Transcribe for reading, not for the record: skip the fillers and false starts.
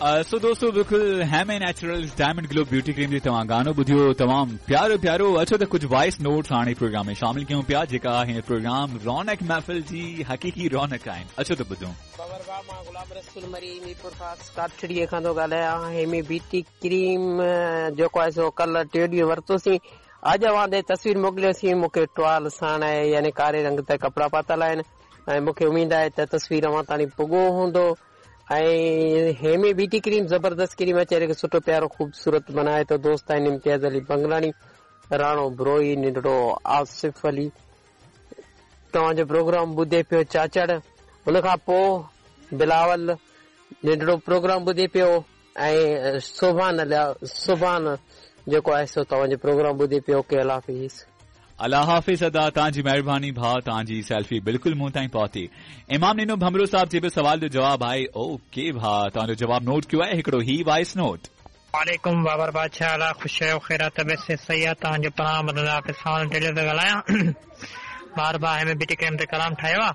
سو دوستو بلڪل Hemi naturals diamond glow beauty cream جي توهان گانو ٻڌيو تمام پيارو پيارو اچو ته ڪجهه وائس نوٽس هاڻي پروگرام ۾ شامل ڪيون پيا جيڪا هن پروگرام رونق محفل جي حقيقي رونق آهن اچو ته ٻڌون. بابر ڀاء مان غلام رسول مري ميرپورخاص ڪاٺڙي کان ٿو ڳالهايان هيمي بيوٽي ڪريم جيڪو آهي سو ڪلهه ٽيون ڏينهن ورتوسين اڄ اوهان ڏي تصوير موڪليوسين مون کي ٽوال ساڻ آهي يعني ڪاري رنگ تي ڪپڙا پاتل آهن ۽ مون کي اميد آهي ته تصوير اوهان تاڻي پڳو هوندو ۽ هيمي بيوٽي ڪريم زبردست ڪريم آهي چهري کي سٺو پيارو خوبصورت بنائي ٿو دوست آهن امتياز علي بنگلاڻي راڻو بروهي ننڍڙو آصف علي توهان جو پروگرام ٻڌي پيو چاچڙ ان کان پو بلاول ننڍڙو پروگرام ٻڌي پيو ۽ سبحان سبحان جيڪو آهي سو توهان جو پروگرام ٻڌي پيو اوڪي الله حافظ. الله حافظ ادا توهان جي مهرباني ڀاء توهان جي سيلفي بلڪل مون تائين پهتي امام نينو ڀنڀرو صاحب جي به سوال جو جواب آهي اوڪي ڀاء توهان جو جواب نوٽ ڪيو آهي هڪڙو هي وائس نوٽ. وعليڪم بابر بادشاهه الله خوش آهيو خير آ طبيعت صحت صحيح آ توهان جو پروگرام ٻڌندا پيا ساڻ ٽيلر ٿو ڳالهايان بار بار هيمي بيوٽي ڪريم تي ڪلام ٺاهيو آ.